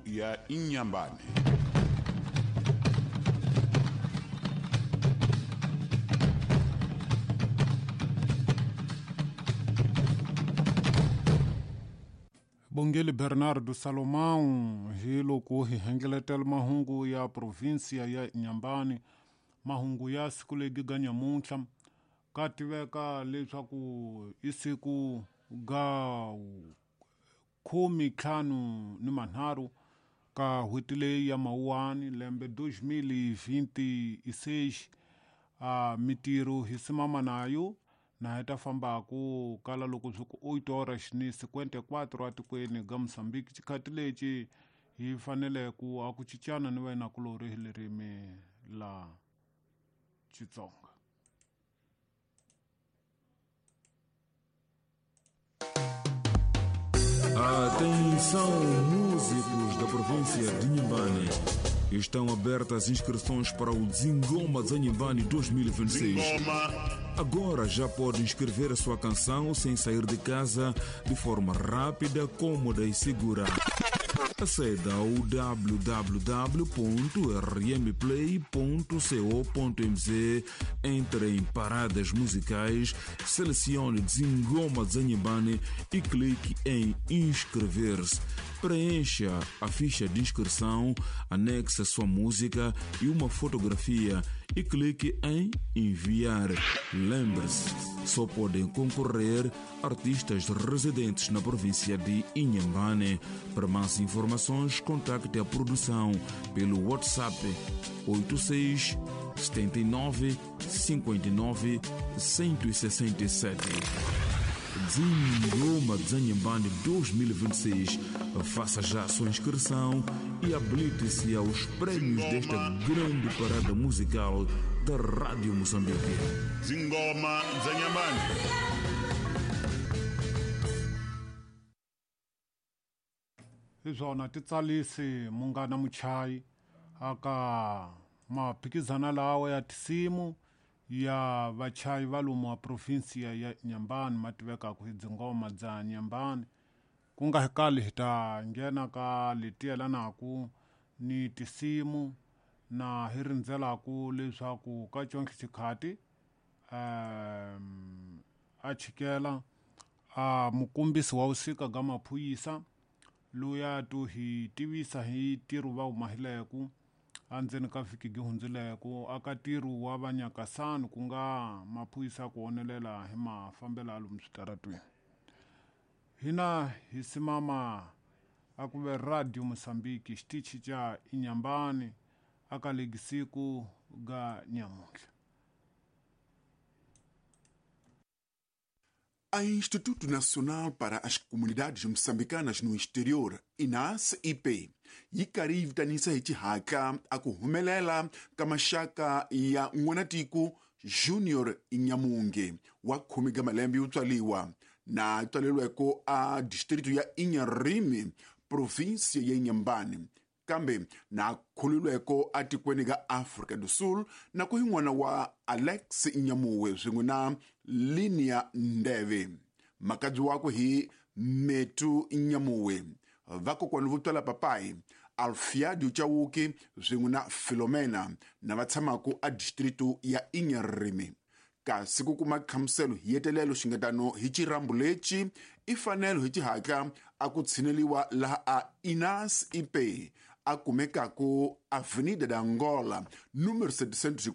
ya Inhambane. Bongele Bernardo Salomão hi loko hi hengeletela mahungu ya provinsia ya Inhambane, mahungu ya siku legi ga nyamuntlha ka tiveka leswaku i siku ga 53 ka n'hweti leyi ya Mawuwani lembe 2026. A mitirho hi simama nayo na hi ta fambaku kala loko swi ku 8 horas ni 54 atikweni ga Mozambique. Xikhati lexi hi fanele ku a ku cincana ni wena kulorhi hi ririmi la Xitsonga. Atenção, músicos da província de Inhambane. Estão abertas inscrições para o Zingoma Zanhambane 2026. Agora já pode inscrever a sua canção sem sair de casa, de forma rápida, cômoda e segura. Aceda ao www.rmplay.co.mz, entre em paradas musicais, selecione Zingoma Zanhambane e clique em inscrever-se. Preencha a ficha de inscrição, anexe a sua música e uma fotografia e clique em enviar. Lembre-se, só podem concorrer artistas residentes na província de Inhambane. Para mais informações, contacte a produção pelo WhatsApp 86 79 59 167. Zingoma Zanhambane 2026. Faça já a sua inscrição e habilite-se aos prêmios desta grande parada musical da Rádio Moçambique. Zingoma Zanhambane. Hi swona titsalisi munghana muchayi aka maphikizana lawa ya tisimu ya vachayi va lomu wa provinsia ya Inhambane ma tivekaka hi dzingoma dza Inhambane. Ku nga hi kali hi ta nghena ka leti yelanaka ni tisimu na hi rindzelaku leswaku ka conke xikhati a chikela a mukombisi wa vusika ga maphuyisa loyi to hi tivisa hi ntirho va humahileku endzeni ka vhiki gi hundzileku aka ntirho wa vanyakasani ku nga maphuyisa ku onelela hi mafambelo ya lomu switaratweni. Hina hi simama a ku ve Radio Mozambique xitichi xa Inhambane aka legi siku ga nyamuntlha. A Instituto Nacional para as Comunidades Moçambicanas no Exterior, INAS-IP, yi karhi yi vitanisa hi xihatla a ku humelela ka maxaka ya n'wanatiko Junior Inyamunge wa 10 ka malembe yo tswaliwa na tswaleriweke a distrito ya Inharime, provinsia ya Inhambane, kambe na khululweko atikweni ka Afrika do Sul na ku hi n'wana wa Alex Nyamuwe swin'we na Linia Ndeve. Makadzi wakwe hi Metu Nyamuwe, vakokwani vo twala papai Alfiadio Chauke swin'we na Filomena na va tshamaka a distrito ya Inharime. Kasi ku kuma nhlamuselo hi yetelelo xingetano hi xirambu lexi i fanelo hi xihatla a ku tshineliwa laha a INAS IP a kumekaku Avenida da Angola número 704